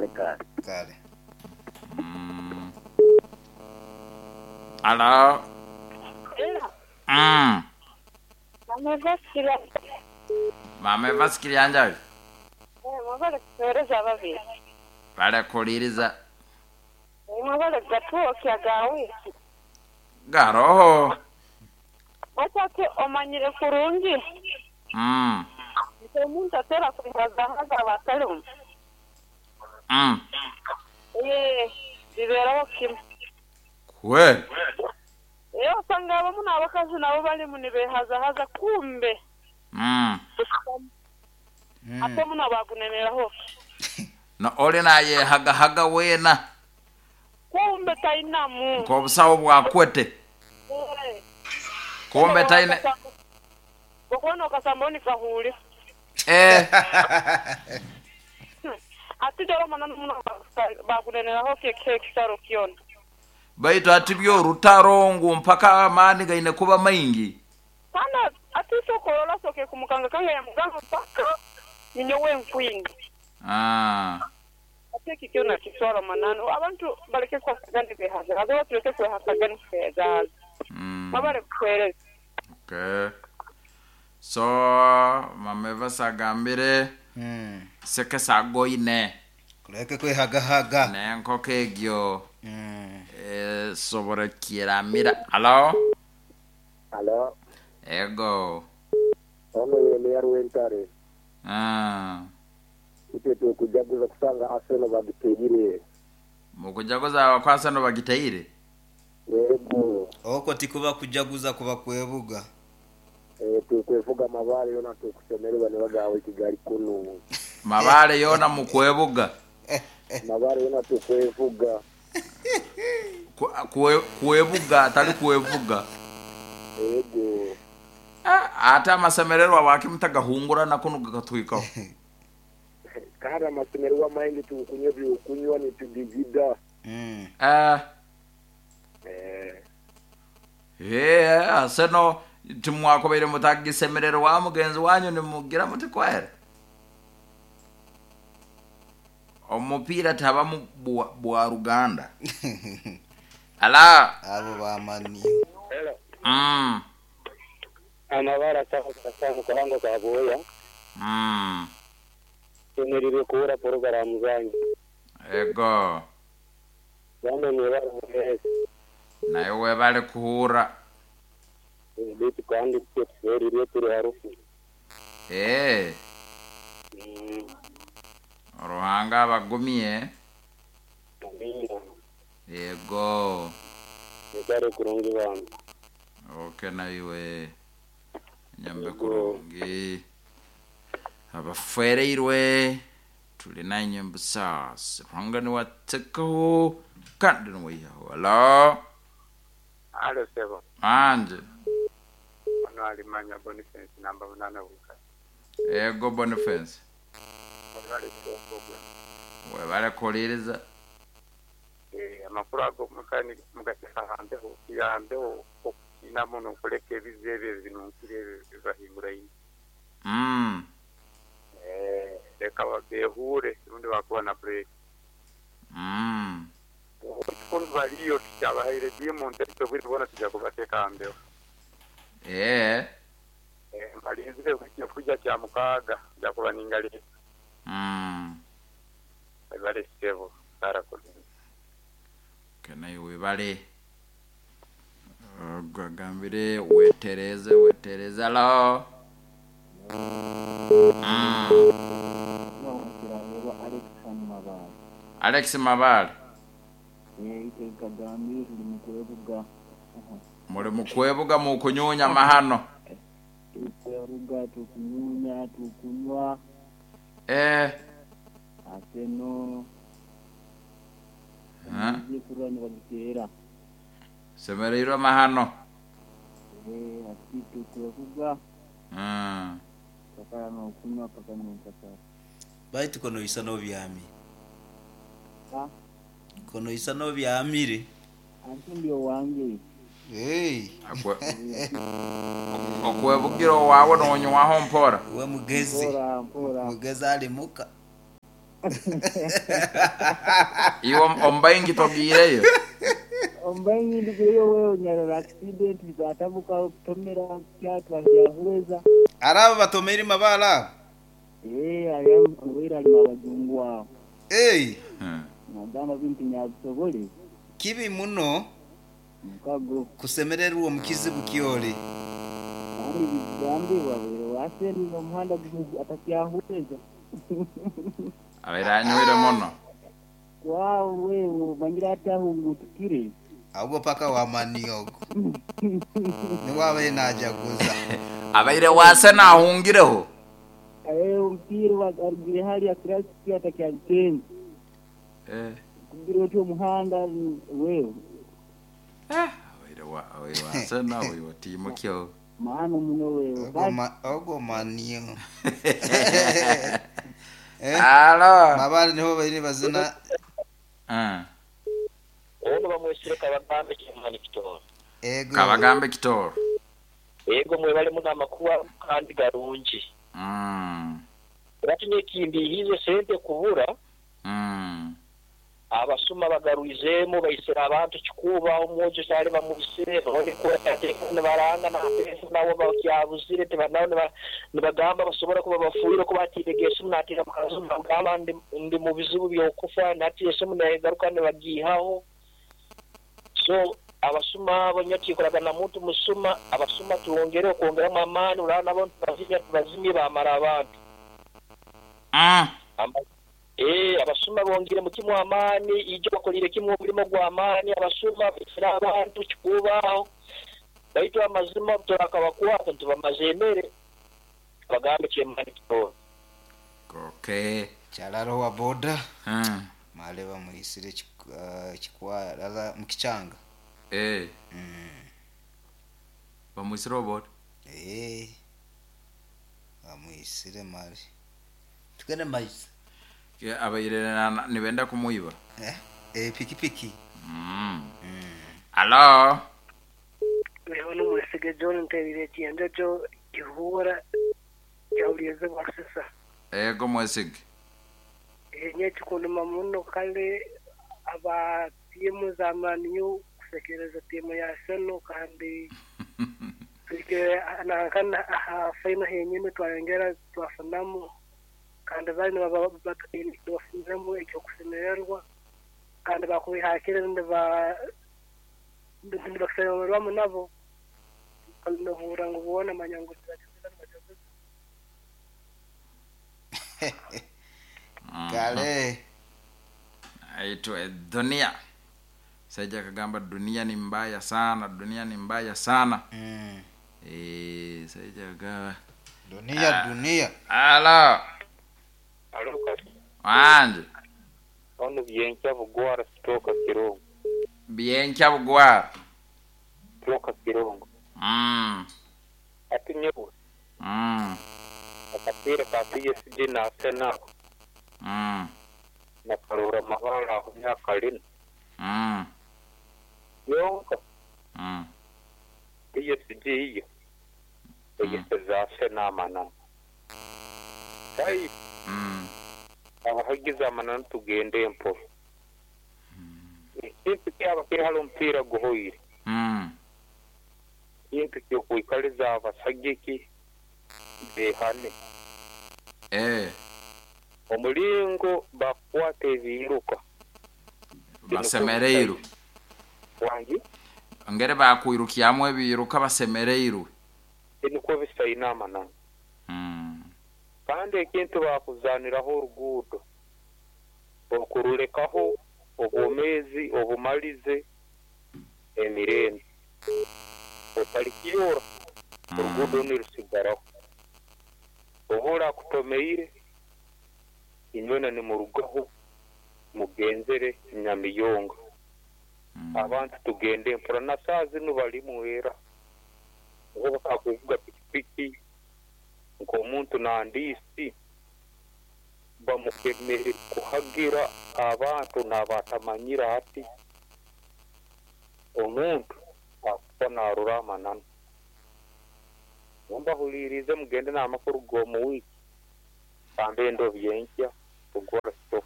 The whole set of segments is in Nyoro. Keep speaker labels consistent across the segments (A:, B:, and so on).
A: Kale kale.
B: Kale.
C: Mm. Alo. Mm.
D: Mama Evasikiri.
C: Mama Evasikiri anjayo.
D: Mwebale kutuweereza ababiri.
C: Balekuliiriza.
D: Mwebale gatwokya ga wiiki.
C: Garoho.
D: Baitu omanyire kurungi nti omuntu atera kwihazahaza aba atalimu. Ee, bibeeraho kimu.
C: Kweli?
D: Ee, osanga abamu n'abakazi nabo balimu nibehazahaza kumbe busitamu. Ate muno baguneneraho ki?
C: No oli nayehagahaga weena.
D: Kumbe tainamu.
C: Nk'obusawo bwakwete.
D: Ee.
C: Kumbe taine.
D: Okubona okasamba ni kahuuli.
C: Eh.
D: Ati dora mananu muno baguneneraho ki ekitaro kyona.
C: Baitu ati byo orutaro ngu mpaka amaani gaine kuba maingi.
D: Kandi ati soka orola soke kumukangakanga yamugamba mpaka ninyowe nkwinga. Ati eki kyona kiswara mananu abantu baleke kwasagana behazahaza oba tuleke kwehasagana kwehazahaza. Mwebale kutuhereza.
C: Okay. So Mama Evasi agambire Sekesa agoine.
B: Kuleke kwehagahaga.
C: N'enkoko egyo esobora kiramira. Halo?
A: Halo.
C: Ego.
A: Ono Yeremia Rwentare. Itwe tukujaguza kusanga Arsenal bagiteire.
C: Mukujaguza kwa Arsenal bagiteire?
A: Yego.
B: Okwo tikuba kujaguza kuba kwebuga.
A: Tukwevuga mabale yona tukusemererwa nibagawe Kigali kunu.
C: Mabale yona mukwebuga.
A: Mabale yona tukwevuga.
C: Kwebuga atali kwevuga.
A: Yego.
C: Ate amasemererwa wakimutagahungura nakuno gakatwikaho.
A: Kandi amasemererwa maingi tukunywa byokunywa nitudigida.
C: Arsenal timwakobeire mutagisemererwa mugenzi wanyu nimugira muti kwere. Omupiira tabamu bwa Ruganda. Ala.
B: Abo bamani.
A: Hello. Amabara sawa kuhango kaboya. Tumirire kuura programu zanyu.
C: Ego.
A: Bamwe mwebale mwese.
C: Naye webale kuhura.
A: Bitu kandi tuferire turi harufu.
C: Ruhanga abagumye.
A: Amina.
C: Yego.
A: Mwebale kurungi bantu.
C: Okay na iwe. Nyambe kurungi. Abafereirwe tuli nanye mbusasi. Ruhanga niwatekaho kandi niwihaho. Hello.
E: Halo sebo.
C: Anje.
E: Ono alimanya Boniface namba 8 wika.
C: Ego Boniface. Webale kuliriza.
E: Amakuru ago mukani mugateka handeho yandeho okukina muno kuleka ebizibu ebyo binunkire bibahingura ino. Leka babehure rundi bakuba na break. Ekikuru baliyo tukyabahaire diamond ariko bwire bona tujya kubateka handeho. Mbalinzire kuja kya mukaaga nja kuba ningalira. Webale ssebo karakulinda.
C: Kenaye webale. Gwagambire wetereze wetereze. Hello. Alex Mabale. Muli mukwebuga mukunyunya mahano.
F: Tukwebuga tukunyunya tukunywa. Aseno.
C: Semereirwe mahano.
F: Ati tukwebuga. Kakala nokunywa paka nyenchakara.
B: Baitu kono isa no byami. Kono isa no byamire.
F: Anti ndio wange.
B: Hey.
C: Okwebugira wawe nonywaho mpora.
B: We mugezi.
F: Mpora mpora.
B: Mugezi alimuka.
C: Iwe omubaingi togiireyo.
F: Ombaingi ndigireyo wewe nyarora accident zatabuka kutomera kyatwa kyahuweza.
B: Araba batomeire mabala abo.
F: Eh, ali wera ali mabajungu aho.
B: Hey,
F: Nagamba bintu nyabisobole
B: kibi muno
F: mukago.
B: Kusemererwa omu kizibu kyoli.
F: Kandi bigambibwa bwire waseni n'omuhanda atakyahuweza.
C: Abaire anywire muno.
F: Kwawe wewe mangira atahungutukire.
B: Ahubwo paka wamaniogo niwabaire najaguza.
C: Abaire wase nahungireho.
F: Eh, omupiira arugire hali akirasi atakyagenza.
C: Eh.
F: Kugira oti omuhanda wewe.
C: Abaire wa abaire wase nawe watimukyo.
F: Maana muno wewe. Basi
B: Ogwo manio. Eh,
C: Alo.
B: mabale niho baire bazina.
G: Ono bamwesire Kabagambe Kimani Kitoro.
B: Ego.
C: Kabagambe Kitoro.
G: Ego mwebale muno amakuwa kandi garungi. Batinye kimbihize sente kubura. Abasuma bagaruizemu baisira abantu kikuba omwojo kyali bamubisire baranga nabo bakyabuzire tebanawo nibagamba basobora kuba bafuire kuba atiregeesimu natira mukazi bagamba ndi mu bizibu by'okufa natiesimu negaruka nibagiihaho. So abasuma abo nyatikolaga na muntu musuma abasuma tuwongere okwongeramu amaani uraba nabo tubazimye bamara abantu. Abasuma bongere mu kimu amaani ijo bakolire kimu omulimo gw'amaani abasuma baisira abantu kikubaho baitu amazima turakabakwata ntibamaze emere bagambe kyemani kitoro.
C: Okay.
B: Kyalaro wa boda. Male bamuisire chikwa lala mukichanga.
C: Eh. Bamuisire oboda.
B: Eh. Bamuisire mali. Tukene maisi.
C: Abaire nibenda kumuiba.
B: Eh, pikipiki.
C: Alo.
H: Wewe n'umwesige John nterire kiyenjojo kihura kyawulize bwasisa.
C: Ego mwesige.
H: Enye kikunduma muno kale aba timu za Man U kusekereza timu ya Arsenal kandi tuike nankana aha final henyine twayongera twafunamu kandi bali bafuniremu ekyokusemererwa kandi bakubihakire nibakusemererwamu nabo nohura ngu bona manya ngu
B: kale
C: aitwa dunia. Saija kagamba dunia ni mbaya sana, dunia ni mbaya sana. Saija kagamba
B: dunia dunia.
C: Alo.
E: Alo.
C: Wanje.
E: Ono byenkya bugwara sitoka Kirongo.
C: Byenkya bugwara.
E: Sitoka Kirongo. Ati nyewe. Akapira ka PSG na Arsenal. Na karura mabara aho myaka lina. Yonka. PSG iyo. Eyeseza Arsenal manana. Tai. Abahagize amanana tugende emporo. Ekintu kyaba kiri hali omupiira guhoire. Ekintu ky'okwikaliza abasagiki behane. Omulingo bakwata ebiruka.
C: Basemereiru.
E: Wangi?
C: Ngere bakwirukyamu ebiruka basemereiru.
E: Niko bisaina amanana. Kandi ekintu bakuzaniraho oruguudo okurulekaho obwomezi obumalize emirembe otalikiyora oruguudo nirusigaraho oba akutomeire inywena nimurugaho mugenzere Nyamiyonga. Abantu tugende mpora na saa zinu balimu era oba bakakuvuga pikipiki nk'omuntu nandisi bamukemere kuhagira abantu n'abatamanyira ati omuntu akufa narura amananu. Mbahulirize mugende n'amakuru g'omu wiiki kambe endo byenkya tugora sitoka.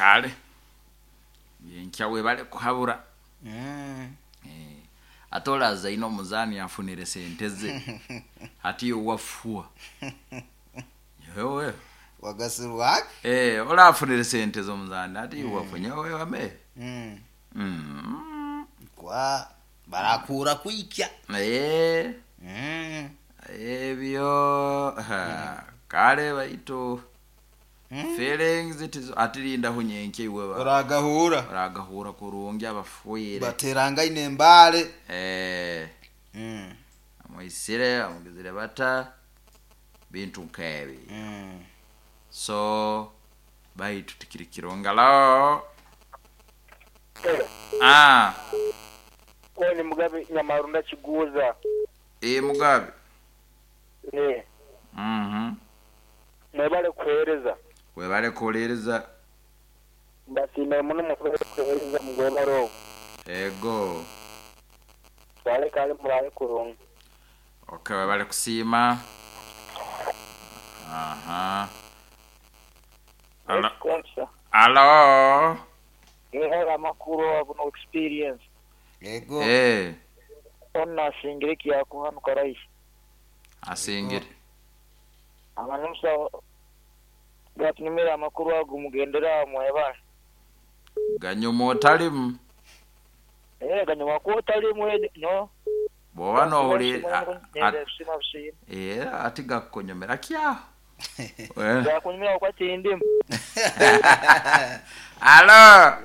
C: Kale yenkya webale kuhabura. Ate olaza ino omuzaani afunire sente ze ati ye wafua yewe
B: wagasirwake.
C: Ola afunire sente z'omuzaani ati ye wafua nyewe wame.
B: Kwa barakura kwikya.
C: Ebyo kale baitu feelings tizo atirinda hunyenke iwe
B: Oragahura.
C: Oragahura kurungi abafuire
B: baterangaine embale.
C: Amwisire amugizire bata bintu nkebi. So baitu tikirikiro ngalo.
G: Oni Mugabe Nyamarunda Kiguza.
C: Mugabe.
G: Mwebale kuhereza.
C: Webale kuhereza.
G: Mbasiime muno mwebale kuhereza mugwebale.
C: Ego.
G: Wale kale muraye kurungi.
C: Okay, webale kusiima. Aha. Alo. Alo.
G: Ngera makuru abuno experience.
B: Ego.
G: Onna asingire kiyakuhanuka rais.
C: Asingire.
G: Abanusa gatunumira amakuru ago mugendera mweba.
C: Ganyuma otalimu.
G: Ganyuma ko otalimu no.
C: Bwoba nohuli ati gakunyumira kya.
G: Gakunyumira kwa tindimu.
C: Alo.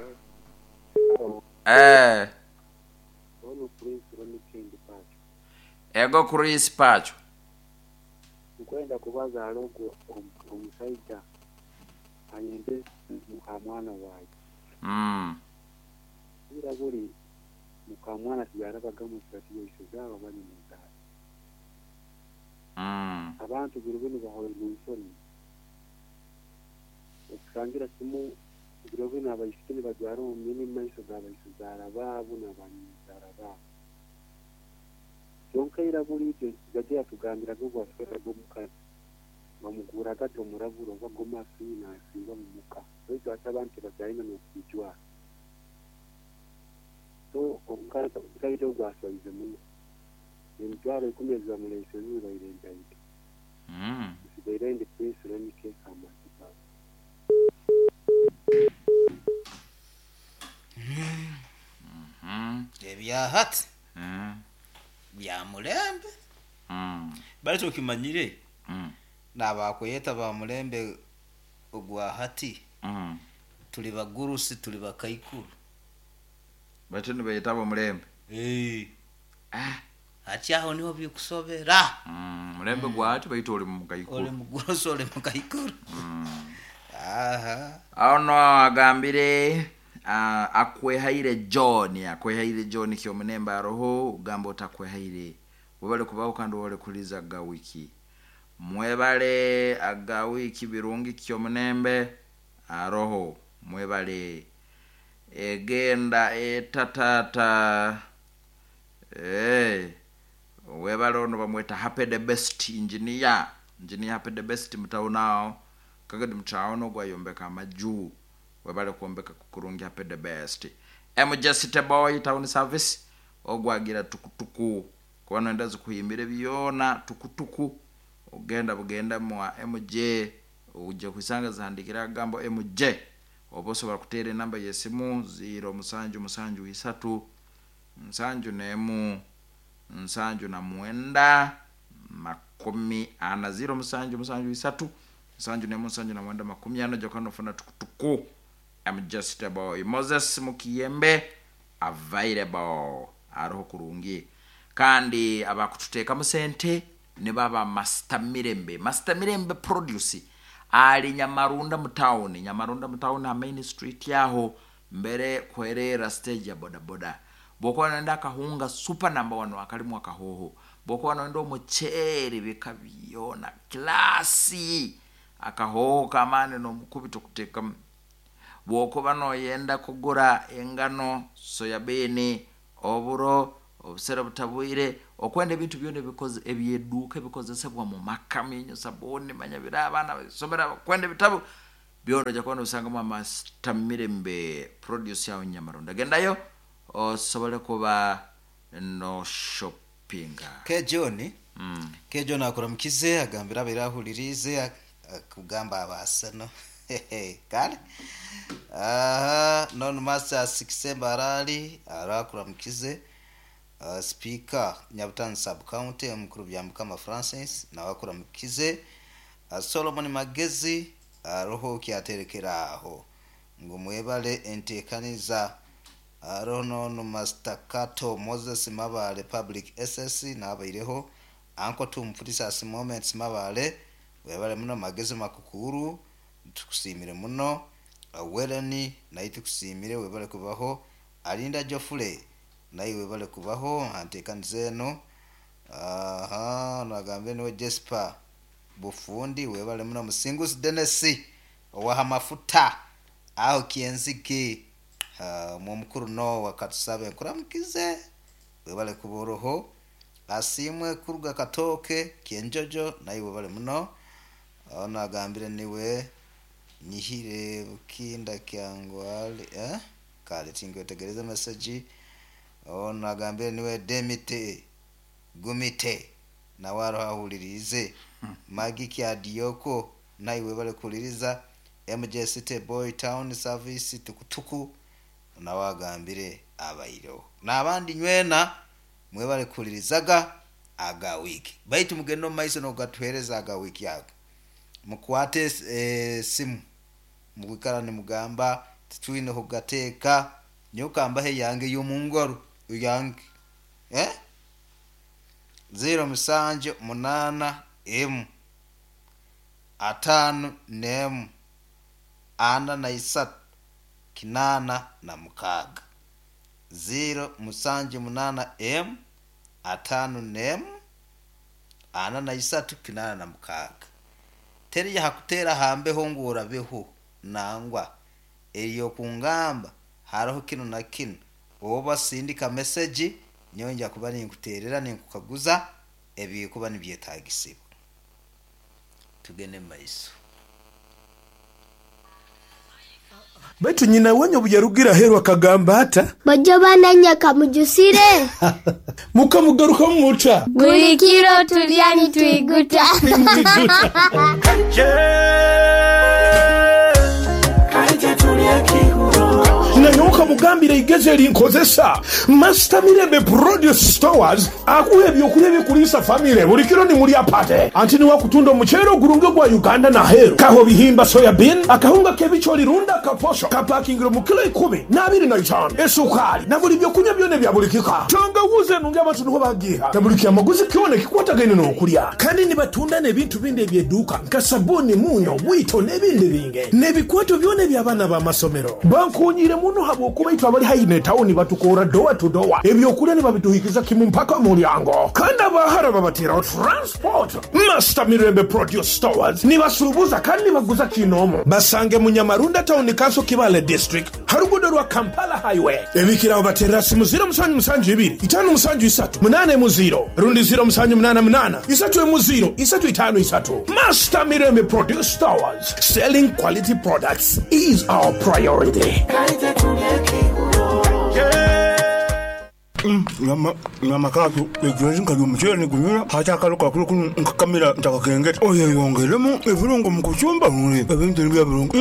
C: Ego Chris Pacho.
A: Nkwenda kubaza alogo omusaija ayende mukamwana wawe. Ira buli mukamwana tiyarabaga musati yisizaba bali muzali. Abantu birubini bahowe munsoni. Okusangira kimu birubini abaisiki bajwara omumyeni maiso g'abaisizara baabo n'abanyizara baabo. Kyonka ira buli ibyo gajya yatugambiraga ogwasweraga omukazi bamuguraga ati omuraburo oba gomasi nasiiba mu muka baitu ate abantu bakyalina n'okwijwara. So omukazi ogwaswaize muno emitwaro 10 ezibamuleise zibaire ntaito. Nsigaire ndi Prince Ronike Amasiga.
B: Ebyahati bya mulembe. Bali okimanyire nabakweta ba mulembe ogwa hati. Tuli bagurusi tuli bakaikuru.
C: Bati nibayeta ba mulembe.
B: Ati aho niho bikusobera.
C: Mulembe gwa hati baitu oli mukaikuru.
B: Oli mugurusi oli mukaikuru. Aha.
C: Ono agambire akwehaire John kyomunemba aroho ugamba otakwehaire webale kubaho kandi webale kuliza ga wiki mwebale aga wiki birungi kyomunembe aroho mwebale egenda etatata webale ono bamweta Happy the Best engineer Happy the Best mutaonao kagadi mutaono gwayombeka amaju webale kuombeka kukurungi Happy the Best. MJ City Boy Town Service ogwagira tukutuku kubano endazi kuhimbire byona tukutuku ogenda bugenda mwa MJ uje kwisanga zahandikira gambo MJ oboso bakutere namba yesimu 0 7 7 3 7 7 9 40 0 7 7 3 7 7 9 40 jokano funa tukutuku. I'm just a boy Moses Mukiyembe available aroho kurungi kandi abakututeeka musente ne baba Master Mirembe produce ali Nyamarunda mutauni main street yaho mbere kwerera stage ya boda boda bwokuba nenda akahunga super number 1 akalimu akahoho bwokuba nenda omuceere bikabyona klasi akahoho kamane n'omukubito kuteeka bwokuba noyenda kugura engano soyabini oburo obusera butabwire okwenda ebintu byona ebikoze ebyeduka ebikozesebwa mu maka minyo sabuni manyabira abaana basomera kwenda ebitabo Byona ojja kuba nobisangamu Master Mirembe Produce awo Nyamaronda. Gendayo osobole kuba no shoppinga.
B: Ke John. Ke John akuramukize agambira abaire ahuririize akugamba abaasano. Kale. Aha, non master Sikisemba arali arakuramukize. Speaker Nyabutano sub county omukuru Byamukama Francis nawe akuramukize. Solomon Magezi aroho kyaterekera aho ngu mwebale entekaniza. Aroho nono Master Kato Moses Mabale Public SS nabaireho. Anko tumfutisas Moments Mabale webale muno. Magezi Makukuru tukusimire muno. Weleni naye tukusimire webale kubaho. Alinda Jofule naye webale kubaho antekaniza eno. Aha, nagambe niwe Jesper Bufundi webale muno. Musinguzi Dennis owaha mafuta aho kienzige mumukuru no wakatusabe nkuramukize webale kuboroho. Asimwe kuruga katoke kienjojo naye webale muno. Nagambire niwe nyihire bukinda kyangwali kale tingwetegereza message. Nagambire niwe Demite Gumite nawe aroho ahuririze. Magi kya Dioko naye webale kuliriza. MJ City Boy Town Service tukutuku nawe agambire abaireho. N'abandi nywena mwebale kulirizaga aga wiki. Baitu mugende omu maiso n'ogatuhereza aga wiki ago. Mukwate simu mugwikara nimugamba titwine kugateeka nyokambahe yange y'omungaro yange 0 7 8 M 5 nem 43 86 0 7 8 M 5 nem 43 86. Teriya hakutera hambeho ngurabeho nangwa eriyo kungamba hariho kino na kino oba sindika message nyonja kuba ninkuterera ninkukaguza ebikuba nibyetagisibwa. Tugende maiso.
I: Baitu nyina wenye buyarugira heru akagamba ata
J: bajo bananya mujusire
I: mukamugaruka mumuta
J: buli kiro tulya nitwiguta.
I: Nanyoka mugambire igeze erinkozesa Master Mirembe Produce Stores akuha ebyokulya ebikulisa famire buli kiro nimulya pate anti niwakutunda omuceere ogurunge gwa Uganda na heru kaho bihimba soya bean akahunga k'ebichori runda kaposho kapakingiro mu kilo 10 na 25 esukari na buli byokunywa byone bya buli kika tangawuze nunge abantu niho bagiha na buli kyamaguzi kyone kikwatagaine n'okulya kandi nibatunda n'ebintu bindi ebyeduuka nka sabuni munyo bwito n'ebindi binge n'ebikwato byone by'abaana b'amasomero bankunyire muno habwokuba itwe abali haihi ne tawuni batukora doa to doa ebyokulya nibabituhikiza kimu mpaka mulyango kandi abahara babateraho transport. Master Mirembe Produce Stores nibasuubuza kandi nibaguza kinomo. Basange mu Nyamarunda Town Council Kibale District harugudo rwa Kampala Highway. Ebikiraho batera simu 072 573 80 rundi 0788 3 0 353. Master Mirembe Produce Stores, selling quality products is our priority.
K: Nyama katu ejuzi nkali omuceere nigunyura hati akalo kakulu kuno nkakamira ntakakengeta oyeyongeremu ebirungo mu kucumba ebintu nibya birungo.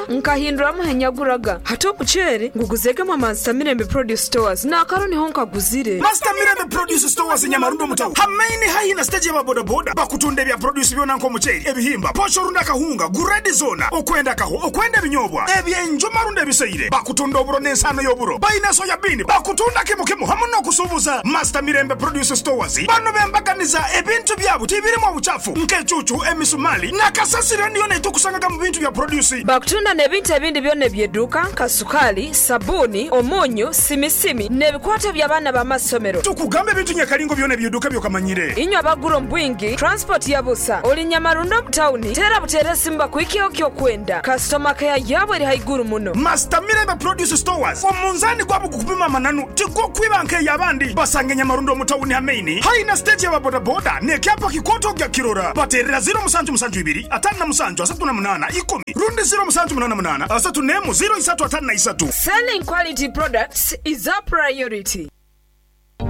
L: Nkahinduramu henyaguraga hati omuceere nguguzegemu Master Mirembe Produce Stores n'akaro niho nkaguzire.
M: Master Mirembe Produce Stores Nyamarundo mutawu hamaini haihi na stage ya bodaboda bakutunda ebya produce byona nk'omuceere ebihimba posho runda kahunga guredi zona okwenda kaho okwenda ebinyobwa ebyenjuma runda ebiseire bakutunda oburo n'ensano y'oburo bayina soya bean bakutunda kimu hamu n'okusuubuza. Master Mirembe Produce Stores bano bembaganiza ebintu byabo tibirimu obuchafu nk'ecucu emisumali nakasasira niyo netukusangaga mu bintu bya produce.
L: Bakutunda n'ebintu ebindi byonna ebyeduuka nka sukali, sabuni, omunyu, simisimi n'ebikwato by'abaana b'amasomero.
M: Tukugambe ebintu nyakalingo byonna ebyeduuka byokamanyire
L: inywe abagura omubwingi transport ya busa oli Nyamarundo mu tawuni tera butere simba kuikyeho kyokwenda kasitoma keya yabwe eri haiguru muno.
M: Master Mirembe Produce Stores omunzani gwabo gukupima Amananu tigokwiba nk'eyabandi. Basange Nyamarundo omu tawuni ha maini haihi na siteegi y'aba bodaboda n'ekyapa kikooto ogya kukirora. Bateerera 0772 57 38 10 rundi 0788 31 03 53.
L: Selling quality products is our priority.